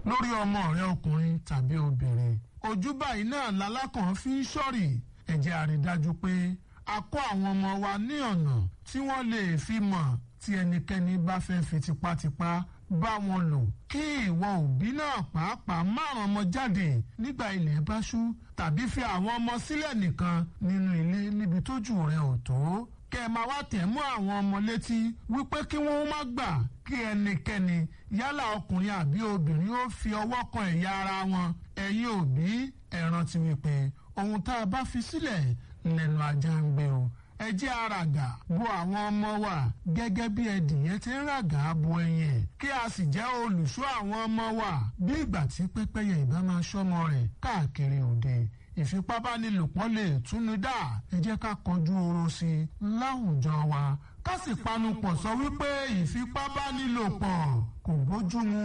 Lórí ọmọ rẹ ọkùnrin tàbí obìnrin, ojú báyìí náà lalákàn fi ń ṣọ́rì. Ẹ jẹ́ a rí dájú pé a kọ́ àwọn ọmọ wa ní ọ̀nà tí wọ́n lè fi mọ̀ tí ẹnikẹ́ni bá fẹ́ fi tipátipá bá wọn lò. Kí ìwọ òbí náà pàápàá márùn ọmọ jáde nígbà ilẹ̀ bá ṣú tàbí fi àwọn ọmọ sílẹ̀ nìkan nínú ilé níbi tójú rẹ̀ ò tó, kẹ́ ẹ máa wá tẹ̀ mọ́ àwọn ọmọ létí wípé kí wọ́n má gbà kí ẹnikẹ́ni, yálà ọkùnrin àbí obìnrin, ó fi ọwọ́ kan ẹ̀yà ara wọn. Ẹ̀yin òbí, ẹ rántí wípé ohun tá a bá fi sílẹ̀ lẹ́nu ajá ń gbé o. Ẹ jẹ́ àràgà bo àwọn ọmọ wa gẹ́gẹ́ bí ẹdìyẹ ti ń ràgà bo ẹyin ẹ̀, kí a sì jẹ́ olùṣọ́ àwọn ọmọ wa bí ìgbà tí pẹ́pẹ́yẹ ìbá máa ṣọ́mọ rẹ̀ káàkiri òde. Ìfipábánilòpọ̀ lè túnú dá. Ẹ jẹ́ ká kọjú oró sí i láwùjọ wa, ká sì panupọ̀ sọ wípé ìfipábánilòpọ̀ kò bójúmu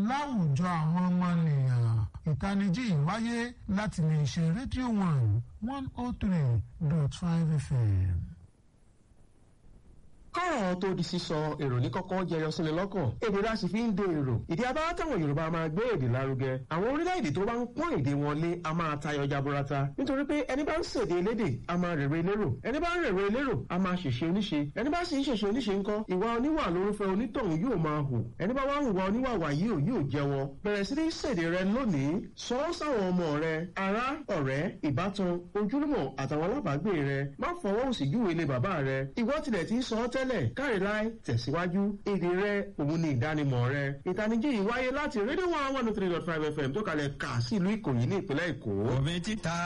láwùjọ àwọn ọmọnìyàn. Ìtanijí ìwáyé láti lè ṣe Rédíò 1 103.5 FM. Kọ́rọ̀ tó di sísọ, èrò ní kọ́kọ́ jẹyọ síni lọ́kàn. Èdè la sì fi ń de èrò. Ìdí abáwá táwọn Yorùbá máa gbé èdè lárugẹ. Àwọn orílẹ̀-èdè tó bá ń pọ́n èdè wọn lé a máa tayọ jaburata, nítorí pé ẹni bá ń ṣèdè elédè a máa rèrè elérò, ẹni bá ń rèrè elérò a máa ṣèṣe oníṣe, ẹni bá sì ń ṣèṣe oníṣe ńkọ́, ìwà oníwà lórúfẹ́ onítọ̀hún yóò máa hù. Ẹni bá wá ń hùwà oníwà wàyí ò yóò jẹ́wọ́. Bẹ̀rẹ̀ sí ní ṣèdè rẹ lónìí. Sọ ọ́ sáwọn ọmọ rẹ, ará, ọ̀rẹ́, ìbátan, ojúlùmọ̀ àtàwọn alábàágbé rẹ. Má fọwọ́ òsì júwe ilé bàbá rẹ. Ìwọ tilẹ̀ ti ń sọ ọ́ tẹ́lẹ̀, káre láì tẹ̀síwájú. Èdè rẹ òun ni ìdánimọ̀ rẹ. Ìtanijí yìí wáyé láti Rédíò 1 103.5 FM tó kalẹ̀ kà sí ìlú Ìkòyí ní ìpínlẹ̀ Èkó. Omi títa.